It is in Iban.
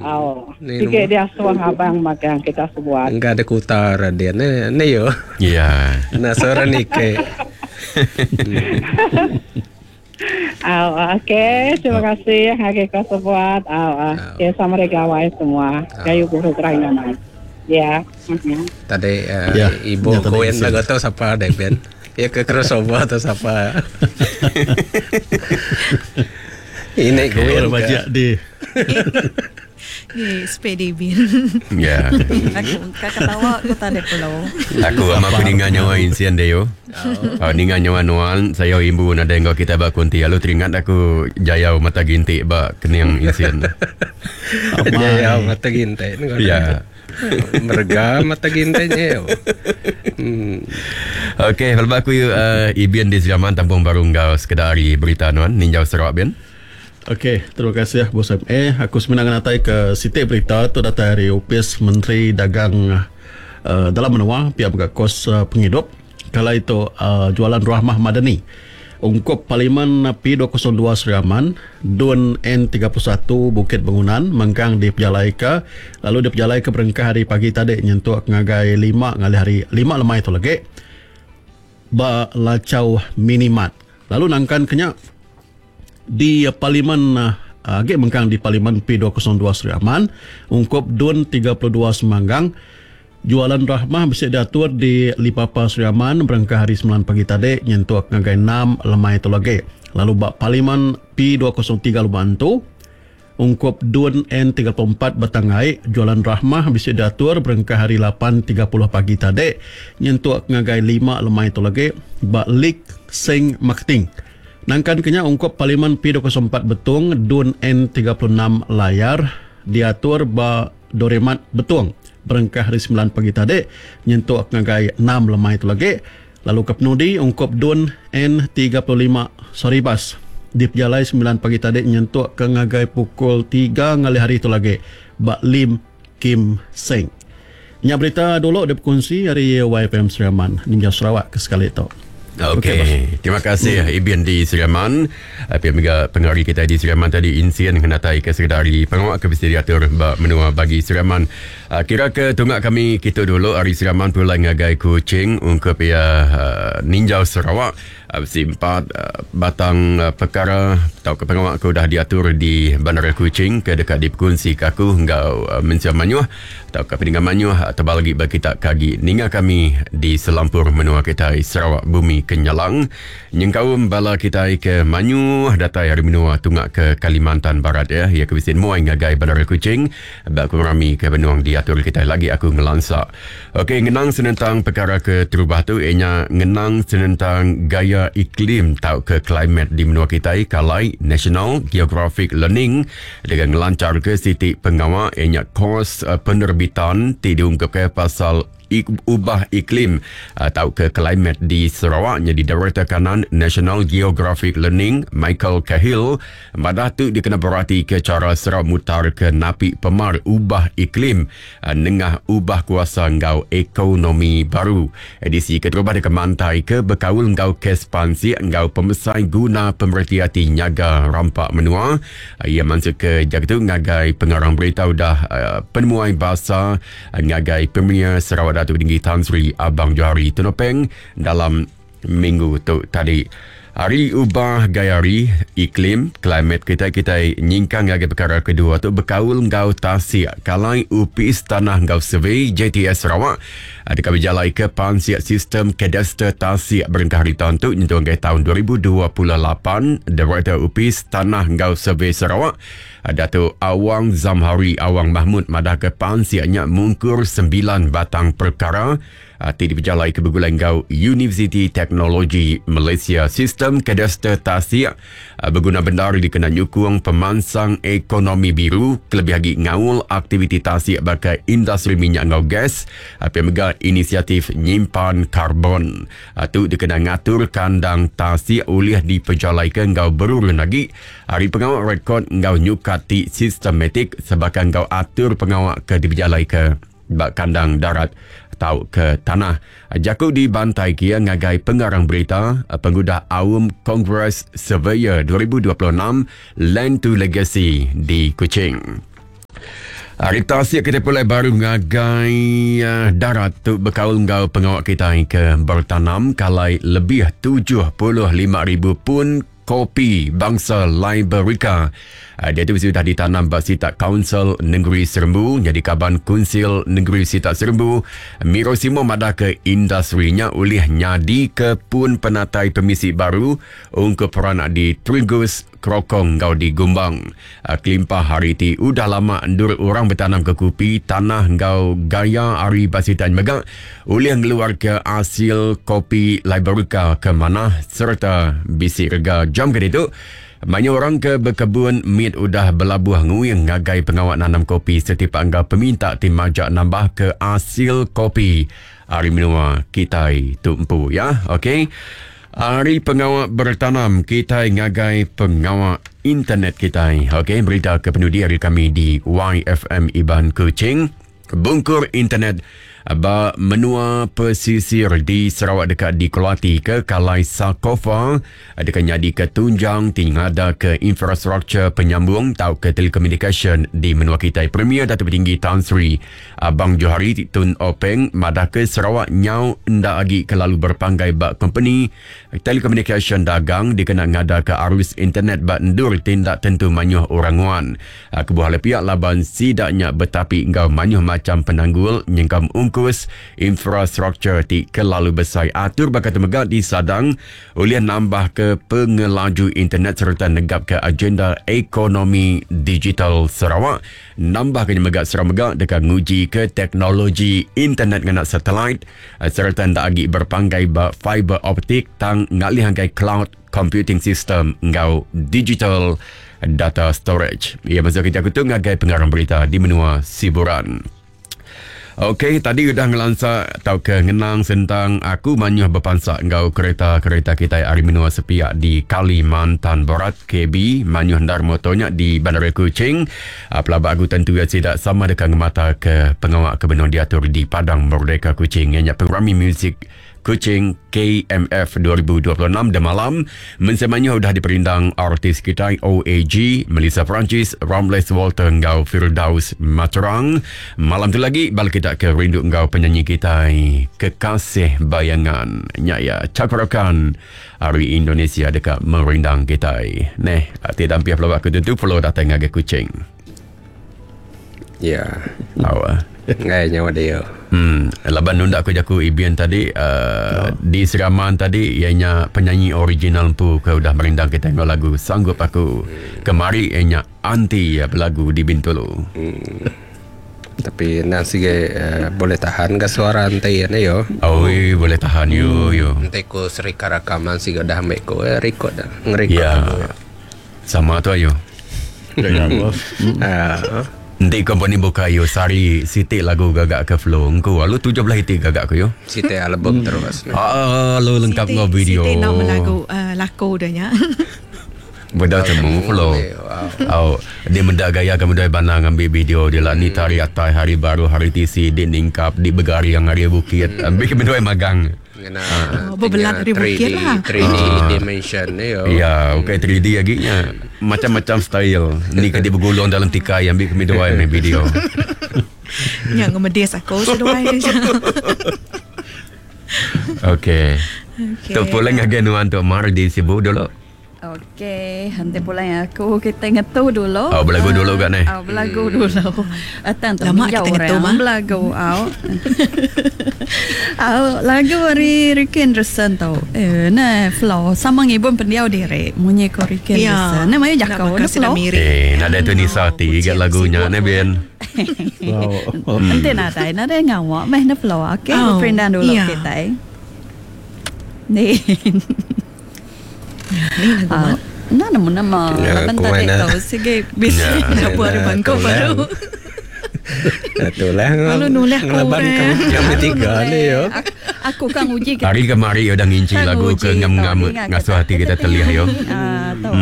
Au. Sigi diasuh abang magang kita sebuat. Engka ada kuta Radin eh ni yo. Ya. Nah seorang nike. Au, okey, terima kasih ngagai kau sebuat. Au, okey, sama hari gawai semua. Gayu guru gerai nyamai. Ya. Tadi uh, ya, ibu koin lagu tu siapa deh Ben? Ya ke crossover tu siapa? Ini okay. Koin ke. Di. Ni sepedi bin. Ya. Aku ka ketawa ku tadi pulau. Aku ama aku ninga nyawa insian dia yo. Oh. ninga nyawa nuan saya imbu nadai enggau kita ba kunti lalu teringat aku jayau mata gintik ba kening insian. Jayau mata gintik. Ya. Merega mata gintik nya. Hmm. Okey, kalau aku uh, Ibin di Seraman tampung baru enggau sekeda ari berita nuan ninjau Sarawak bin. Okey, terima kasih Bos MA. Aku semina ngenatai ke siti berita tu datai ari Opis Menteri Dagang uh, Dalam Menua pia mega kos uh, pengidup. Kala itu uh, jualan Rahmah Madani. Ungkup Parlimen P202 Sri Aman, Dun N31 Bukit Bangunan mengkang dipejalaika lalu dipejalaika berengkah hari pagi tadi nyentuk ngagai 5 ngalih hari 5 lemai tu lagi ba Lachau Minimart. Lalu nangkan ke nya di Parlimen agi mengkang di Parlimen P202 Sri Aman ungkup Dun 32 Semanggang Jualan Rahmah bisi diatur di Lipapa Sri Aman berengkah hari semilan pagi tadi nyentuk ngagai enam lemai tu lagi. Lalu ba Parlimen P203 Lubok Antu, ungkup Dun N34 Batang Ai, Jualan Rahmah bisi diatur berengkah hari lapan tiga puluh pagi tadi nyentuk ngagai lima lemai tu lagi ba Lik Seng Marketing. Nangkan ke nya ungkup Parlimen P204 Betong, Dun N36 Layar diatur ba Doremat Betong berengkah hari semilan pagi tadi nyentuk ngagai enam lemai tu lagi lalu ke penudi ungkup Dun N35 Saribas dipejalai semilan pagi tadi nyentuk ke ngagai pukul tiga ngalih hari tu lagi ba Lim Kim Seng. Nya berita dulu dipekunsi ari YFM Sri Aman ninjau Sarawak ke sekali tu. Okey, okay, terima kasih Ibin di Sri Aman. Pia mega pengari kita di Sri Aman tadi insien ngenatai ke sekedar ari pengawa ke bisi diatur ba menua bagi Sri Aman. Kira ke tunga kami kitu dulu ari Sri Aman pulai ngagai Kuching ungkup iya ninjau Sarawak. Bisi empat batang pekara tauka pengawa ke udah diatur di Bandar Kuching ke deka dipekunsi ke aku enggau mensia mayuh. Tauka peninga mayuh tebal agi ba kita ke agi ninga kami di selampur menua kitai Sarawak Bumi Kenyalang nyengkaum bala kitai ke mayuh datai ari menua tunga ke Kalimantan Barat ya iya ke bisi nemuai ngagai Bandar Kuching ba pengerami ke benung diatur kitai lagi aku ngelansa. Okey ngenang senentang pekara ke terubah tu iya nya ngenang senentang gaya iklim tauka climate di menua kitai kalai National Geographic Learning Deka ngelancharka siti pengawa iya nya kos penerbitan ti diungkupka pasal ubah iklim tauka climate di Sarawak nyadi Direktor Kanan National Geographic Learning Michael Cahill madah tu dikena beratika chara Sarawak mutarka napi pemar ubah iklim nengah ubah kuasa enggau ekonomi baru. Edisi keterubah deka mantaika bekaul enggau kes pansik enggau pemesai guna pemereti ati nyaga rampa menua. Iya mansutka jaku tu ngagai pengarang berita udah penemuai basa ngagai Premier Sarawak Datuk Tinggi Tan Sri Abang Johari Tun Openg dalam minggu tu tadi. Ari ubah gaya hari, iklim, climate kitai kitai nyingkang ngagai pekara kedua tu bekaul enggau tasik kalai Opis Tanah enggau Survey JTS Sarawak deka bejalaika pansik sistem kadaster tasik berengkah ari taun tu nyentuk ngagai taun 2028. Direktor Opis Tanah enggau Survey Sarawak Datuk Awang Zamhari Awang Mahmud madahka pansik nya mungkur sembilan batang perkara ti dipejalaika begulai enggau Universiti Teknologi Malaysia. Sistem kadaster tasik beguna bendar dikena nyukung pemansang ekonomi biru kelebih agi ngaul aktiviti tasik baka industri minyak enggau gas pia mega inisiatif nyimpan karbon. Tu dikena ngatur kandang tasik ulih dipejalaika enggau berurun agi ari pengawa rekod enggau nyukat ti sistematik sebaka enggau atur pengawa ke dipejalaika ba kandang darat tauka tanah. Jaku dibantai kia ngagai pengarang berita pengudah Aum Kongres Surveyor 2026 Land to Legacy di Kuching. Hari tasik kita pulai baru ngagai uh, darat tu bekaul enggau pengawa kita ke bertanam kalai lebih 75,000 pun kopi bangsa Liberica. Uh, dia tu sudah ditanam ba sitak Kaunsil Negeri Serembu jadi kaban Kunsil Negeri Sitak Serembu. Miro Simo madah ke industrinya ulih nyadi ke pun penatai pemisi baru ungkup peranak di Trigus, Krokong enggau di Gumbang. Kelimpah hari ti udah lama endur orang betanam ke kupi, tanah enggau gaya ari ba sitan mega ulih ngeluarka asil kopi Liberica ke manah sereta bisi rega. Jam ke ditu, mayuh orang ke bekebun mit udah belabuh nguing ngagai pengawa nanam kopi setipak enggau peminta ti majak nambah ke asil kopi ari menua kitai tu empu ya. Okey. Ari pengawa bertanam kitai ngagai pengawa internet kitai. Okey, berita ke penudi ari kami di YFM Iban Kuching. Bungkur internet ba menua pesisir di Sarawak deka dikeluati ke Kalai Sakofa deka nyadika tunjang ti ngadaka infrastruktur penyambung tauka telekomunikasyen di menua kitai. Premier Datuk Patinggi Tan Sri Abang Johari Tun Openg madahka Sarawak nyau enda agi kelalu berpanggai ba kompeni telekomunikasyen dagang dikena ngadaka arus internet ba endur ti enda tentu mayuh orang nguan. Kebuah alai pia laban sida nya betapi enggau mayuh macham penanggul nyengkaum ungkus infrastruktur ti kelalu besai. Atur baka tu mega disadang ulih nambahka pengelaju internet sereta negapka agenda ekonomi digital Sarawak. Nambahka nya mega Sarawak mega deka ngujika teknologi internet ngena satelit sereta enda agi berpanggai ba fiber optik tang ngalih ngagai cloud computing system enggau digital data storage. Iya masuk ke jaku tu ngagai pengarang berita di menua Siburan. Okey, tadi udah ngelansa tauka ngenang sentang aku mayuh bepansa enggau kereta-kereta kitai ari menua sepiak di Kalimantan Barat, KB, mayuh endar motor nya di Bandaraya Kuching. Ah, pelaba aku tentu iya sida sama deka ngemata ke pengawa ke benung diatur di Padang Merdeka Kuching iya nya pengerami muzik Kuching KMF 2026 demalam mensia mayuh udah diperindang artis kitai OAG, Melissa Francis, Ramles Walter enggau Firdaus Materang. Malam tu lagi bala kita ke rindu enggau penyanyi kitai Kekasih Bayangan. Nya iya Cakarakan ari Indonesia deka merindang kitai. Neh, ti dampih pelaba aku tentu perlu datai ngagai Kuching. Ya. Au. Ah. Ngai nyawa dia. Laban nunda aku jaku Ibin tadi uh, oh. di Seraman tadi iya nya penyanyi original empu ke udah merindang kita enggau lagu Sanggup Aku. Kemari iya nya anti iya belagu di Bintulu. Tapi nang sige uh, boleh tahan ke suara enti ya yo. Oh, oi, boleh tahan yo yo. Enti ku serikat rakaman sige dah ambil ku eh, record dah. Ngerekod Ya. lagu. Sama tu ayo. Ya, bos. Ah. Enti kompeni buka yo sari siti lagu gagak ke flow engku lalu 17 iti gagak ku yo. Siti album terus. Ah, lu lengkap enggau video. Siti nak melagu uh, laku dah nya. Beda temu flow. Wow. Oh, dia menda gaya kamu dah banang ambil video dia lah ni tari atai hari baru hari tisi di ningkap di begari yang hari bukit. Ambil ke benda magang. Ngena Oh, berbelat dari bukit lah. 3D dimension ni yo. Ya, okey 3D lagi nya. Macam-macam style. Ni ke dia bergulung dalam tikai ambil kami dua main video. Nya ngemedis aku seduai. Okey. Okey. Tu pulang ngagai nuan tu Mar di Sibu dulu. Okey, nanti pulang aku kita ngetu dulu. Oh, belagu dulu kat ni. Oh, belagu dulu. Atang tu Lama minjau kita ngetu, orang mah. Belagu au. au lagu ari Ricky Anderson tu. Eh, nah flow sama ngibun pendiau diri. Munyi ko Ricky Ya. Anderson. Nah, mayu Nak jakau bakal dah sedang flow. mirip. Eh, nada tu Nisa ti kat lagunya ne Ben. Wow. Nanti nadai, nadai ngawak meh na flow. Okey, Oh, oh, perindan dulu ya. kita. Ni. Ni lagu Ah, mana? Nah, nama nama. Ya, Laban aku tadi mana. tau sige bisi. Ya. Lagu hari bangkok baru. Itulah. Lalu nulis aku, Ngelaban eh. kami kami tiga ni yo. Aku, aku kan uji Hari kemari udah nginci Kan lagu ke uji ngam-ngam tau, ingat ngasuh kita. hati kita telih yo. Ah, tahu.